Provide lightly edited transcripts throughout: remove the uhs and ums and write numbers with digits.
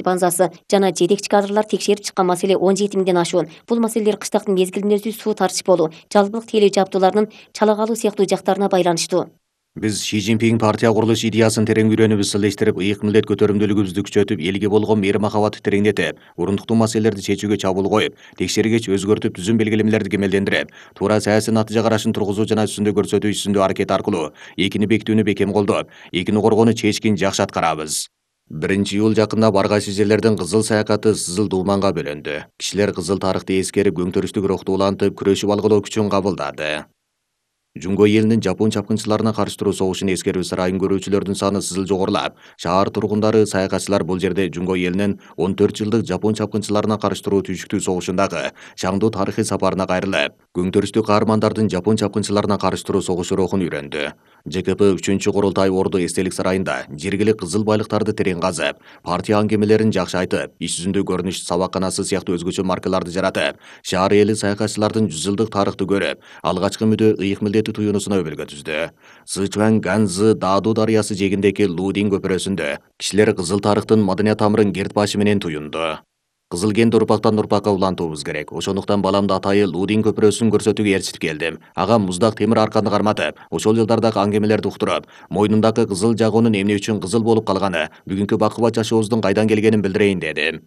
базасы жана жетекчи кадрлар текшерип чыккан маселе 17 миңден ашуун. Бул маселелер кыштактын мезгилинде өзү суу тартыш болуу, жалпылык тейлөө жабдууларынын чала калуу сыяктуу жактарына байланыштуу. Биз Ши Цзиньпин партия курулуш идеясын терең үйрөнүп исилдештирип, ыйык милдет көтөрүмдүүлүгүбүздү күчөтүп, элге болгон мээри махабатты тереңдетип, урундуктуу маселелерди чечүүгө чабуул коюп, текшергеч өзгөртүп, түзүм белгилемелерди кемелдендирип, туура саясий натыйжа карашын тургузуу жана үстүндө көрсөтүү ишсиндүү аракет аркылуу экини бекитүүнү бекем колдоп, экини коргоону чечкин жакшы аткарабыз. 1-июль жакында бар кайсы жерлердин кызыл саякаты Сызыл Думанга бөлөндү. Кишилер кызыл тарыхты эскерип, көңтөрүштүк рухту улантып, күрөшүп алгылоо күчүн кабылдады. Жунго элинин жапон чапкынчыларына каршы туруу согушун эскерип сарайын көрүүчүлөрдүн саны сызыл жогорулап, шаар тургундары, саякатчылар бул жерде Жунго элинин 14 жылдык жапон чапкынчыларына каршы туруу түйшүктүү согушундагы шаңдуу тарыхый сапарына кайрылып, көңтөрүштүү каармандардын жапон чапкынчыларына каршы туруу согушу рухун үйрөндү. ЖКП 3-курултай Орду эстелик сарайында жергилик кызыл байлыктарды терең казып, партия аңгемелерин жакшы айтып, иш жүзүндө көрүнүш сабакканасы сыяктуу өзгөчө маркаларды жаратып, шаар эли саякатчылардын 100 жылдык тарыхты көрүп, алгачкы үмүдү ыйык милдети туюунусуна өбөлгө түздү. Сычуан Ганзы Даду дарыясы жээгиндеги Лудин көпүрөсүндө кишилер кызыл тарыхтын маданият тамырын керт башы менен туюнду. Кызыл генди урпактан урпакка улантуубуз керек. Ошондуктан баламды атайы Лудин көпүрөсүн көрсөтүүгө ээрчитип келдим. Ага муздак темир арканды карматып, ошол жылдардагы аңгемелерди уктуруп, мойнундагы кызыл жагуунун эмне үчүн кызыл болуп калганы, бүгүнкү бакубат жашообуздун кайдан келгенин билдирейин дедим.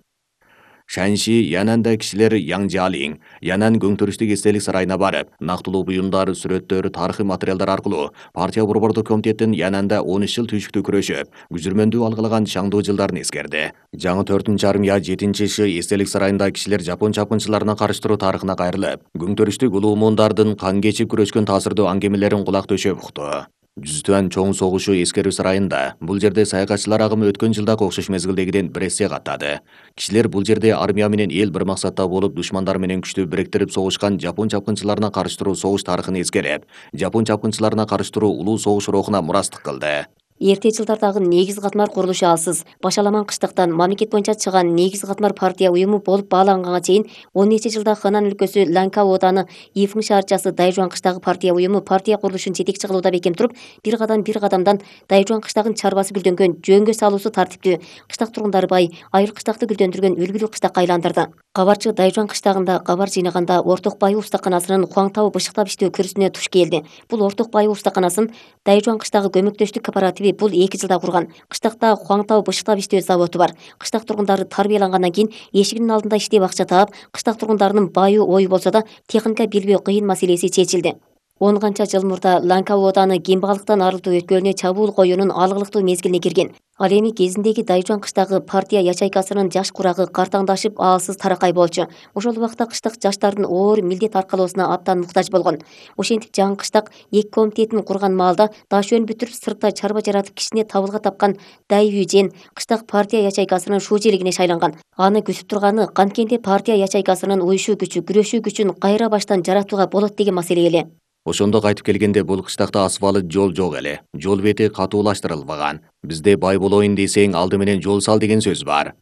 Шанши Янанда кишилер Яңжалин, Янан көңтөрүштүк эстелик сарайына барып, нактылуу буюмдар, сүрөттөр, тарыхый материалдар аркылуу партия борбордук комитеттин Янанда 13 жыл түйшүктүү күрөшүп, күжүрмөндүү алгылаган шаңдуу жылдарын эскерди. Жаңы 4-армия 7-ши эстелик сарайында кишилер жапон чапкынчыларына каршы туруу тарыхына кайрылып, көңтөрүштүк улуумундардын кан кечип күрөшкөн таасирдуу аңгемелерин кулак төшөп укту. Жүзтүан чоң согушу эскерүү сарайында бул жерде саякатчылар агымы өткөн жылдагы окшош мезгилдегиден бир эсе каттады. Кишилер бул жерде армия менен эл бир максатта болуп, душмандар менен күчтү бириктирип согушкан жапон чапкынчыларына каршы туруу согуш тарыхын эскерип, жапон чапкынчыларына каршы туруу улуу согуш рухуна мурастык кылды. Эрте жылдардагы негиз катмар курулушу алсыз. Башаламан кыштактан мамлекет боюнча чыган негиз катмар партия уюму болуп бааланганга чейин 10 нече жылда Хэнан өлкөсү Ланкау ооданы Ифың шаарчасы Дайжуан кыштагы партия уюму партия курулушун жетекчи кылууда бекем туруп, бир кадамдан Дайжуан кыштагын чарбасы гүлдөнгөн жөнгө салуусу тартиптүү, кыштак тургундары бай, айыл кыштакты гүлдөндүргөн үлгүлүү кыштакка айландырды. Кабарчы Дайжуан кыштагында кабар жыйнаганда Орток Байы устаканасынын Хуаңтау бышыктап иштөө күрүсүнө туш келди. Бул Орток Байы устаканасын Дайжуан кыштагы көмөктөштүк кооперативи бул 2 жылда курган. Кыштакта Хуаңтау бышыктап иштөө заводу бар. Кыштак тургундары тарбиялангандан кийин эшигинин алдында иштеп акча таап, кыштак тургундарынын баю ою болсо да техника билбөө кыйын маселеси чечилди. 10 канча жыл мурда Ланкау ооданы кембагалыктан арылтуу өткөлүнө чабуул коюунун алгылыктуу мезгилине кирген. Ал эми кезиндеги Дайжуан кыштагы партия ячейкасынын жаш курагы картаңдашып, аалсыз таракай болчу. Ошол убакта кыштак жаштардын оор милдет аркалоосуна абдан муктаж болгон. Ошентип жаңы кыштак 2 комитетин курган маалда дашөөн бүтүрүп сыртта чарба жаратып кичине табылга тапкан Дайвюжен кыштак партия ячейкасынын шужелигине шайланган. Аны күтүп турганы канткенде партия ячейкасынын уюшуу күчү, күрөшүү күчүн кайра баштан жаратууга болот деген маселе эле. Ошондо кайтып келгенде бул кыштакта асфальт жол жок эле. Жол бети катуулаштырылбаган. Бизде бай болоюн десең, алды менен жол сал деген сөз бар.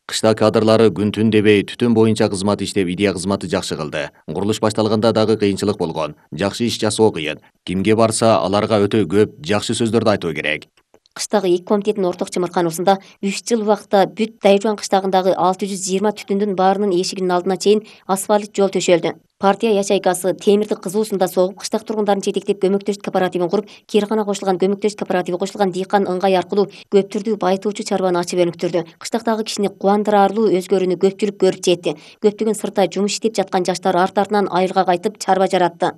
Кыштак кадрлары күн-түн дебей түтүн боюнча кызмат иштеп, идея кызматы жакшы кылды. Курулуш башталганда дагы кыйынчылык болгон. Жакшы иш жасоо кыйын. Кимге барса, аларга өтө көп жакшы сөздөрдү айтуу керек. Кыштагы 2 комитеттин орток чымыркануусунда 3 жыл убакытта бүт Дайжуан кыштагындагы 620 түтүндүн баарынын эшигинин алдына чейин асфальт жол төшөлдү. Партия ячейкасы темирди кызуусунда согуп, кыштак тургундарын жетектеп көмөктөштүк кооперативин куруп, Киргана кошулган көмөктөштүк кооперативи кошулган дыйкан ыңгай аркылуу көп түрдүү байытуучу чарбаны ачып өнүктүрдү. Кыштактагы кишини кубандыраарлуу өзгөрүүнү көпчүлүк көрүп жетти. Көптөгөн сыртта жумуш иштеп жаткан жаштар арт-артынан айылга кайтып чарба жаратты.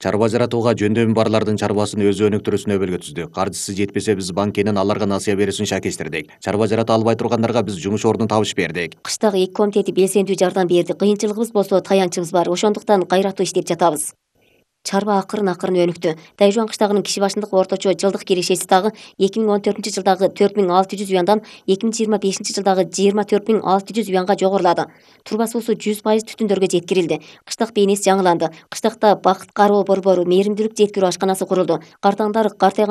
Чарба жаратууга жөндөмү барлардын чарбасын өзү өнүктүрүүсүнө өбөлгө түздүк. Каржысы жетпесе биз банкенин аларга насыя берүүсүн шакештирдик. Чарба жарата албай тургандарга биз жумуш ордун табыш бердик. Кыштагы 2 комитети белсендүү жардам берди. Кыйынчылыгыбыз болсо таянчыбыз бар. Ошондуктан кайраттуу иштеп жатабыз. Чарба акырын өнүктү. Дайжуан кыштагынын киши башындык орточо жылдык кирешеси дагы 2014-жылдагы 4600 юандан 2025-жылдагы 24600 юанга жогорулады. Турба суусу 100% түтүндөргө жеткирилди. Кыштак бейнеси жаңыланды. Кыштакта бакыт кароо борбору, мээримдүүлүк жеткирүү ашканасы курулду. Картаңдар картайган